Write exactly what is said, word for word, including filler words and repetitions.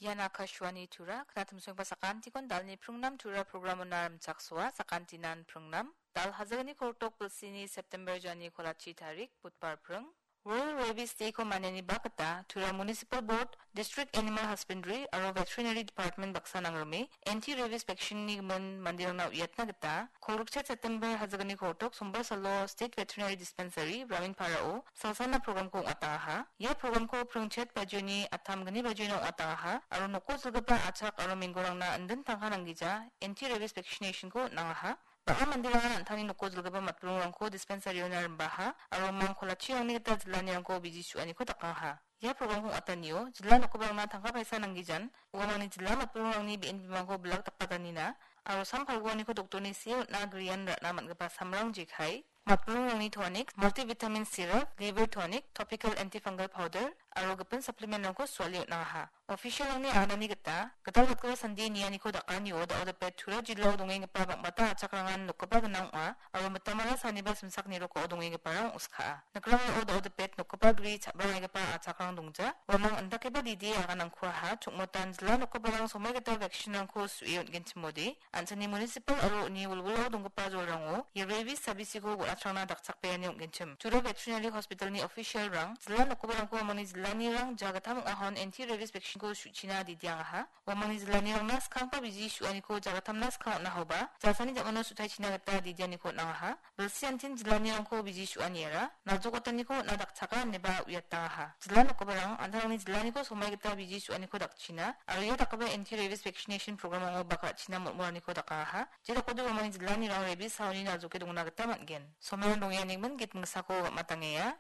Ian Akashvani Tura, knatimsoengba sakantikon dalni pringnam Tura programona rimchaksoa, sakantinan pringnam. Dal hajagni kortok bilsini September jani kolachi tarik, Budbar pring. World Rabies Day-ko maniani bakgita Tura Municipal Board, District Animal Husbandry aro Veterinary Department baksa nangrime anti-rabies vaccine-ni gimin manderangna uiatna gita, kolgrik September hajagni kortok Sombar salo State Veterinary Dispensary, Raminparao salsana program-ko ong·atangaha. Ia program-ko pringchet bajioni attam gni bajiona ong·atangaha aro noko jilgipa achak aro menggorangna indin tangka nanggija anti-rabies vaccination-ko on·angaha. Bang·a manderangan an·tangni noko jilgipa matburingrangko dispensary-ona rimbaha aro mang kolachirangni gita jillanirangko biji su·aniko dakangaha. Ia program-ko ong·atanio jilla nokgiparangna tangka paisa nanggijan, uamangni jilla matburingrangni be·en bimangko bilak dakatanina aro sam palguaniko doktorni see on·a grian ra·na man·gipa samrang jekai, matburingrangni tonic, multivitamin syrup, liver tonic, topical antifungal powder aro gipin supplement-rangko suale on·angaha. Official-rangni aganani gita, gital gatgipa sandie nianiko dakanio da·o dapet Tura jilao dongenggipa bang·bata achakrangan nokgipa gnang ong·a, aro mitamara saniba simsak nirokao dongenggiparang ong·skaa. Nikrangao da·o dapet nokgipa gri cha·bangaigipa achakrang dongja, uamang indakeba didi aganangkuaha, chokmotan jila nokgiparang somoi gita vaccine-rangko su·e on·genchimode, an·chingni municipal aro uni wilwilao donggipa jolrango ia rabies sabisiko bon·atrangna dakchakbeani ong·genchim. Tura Veterinary Hospital-ni official-rang jila nokgiparangko uamangni jillanirang jagittam ong·ahon anti-rabies vaccine-ko su·china didiangaha. Uamangni jillanirangna skanggipa biji su·aniko jagittamna skang on·ahoba, jasani ja·mano su·taichina gita didianiko on·angaha. Bilsiantin jillanirangko biji su·aniara naljokataniko on·na dakchaka ineba uiatangaha. Jilla nokgiparang an·tangni jillaniko somoi gita biji su·aniko dakchina aro ia dakgipa anti-rabies vaccination program-rango bak ra·china mol·molaniko dakangaha. Jedakode uamangni jillanirang rabies saoni naljoke dongna gita man·gen. Somerang dongenigmin git mingsako gam·atangenga.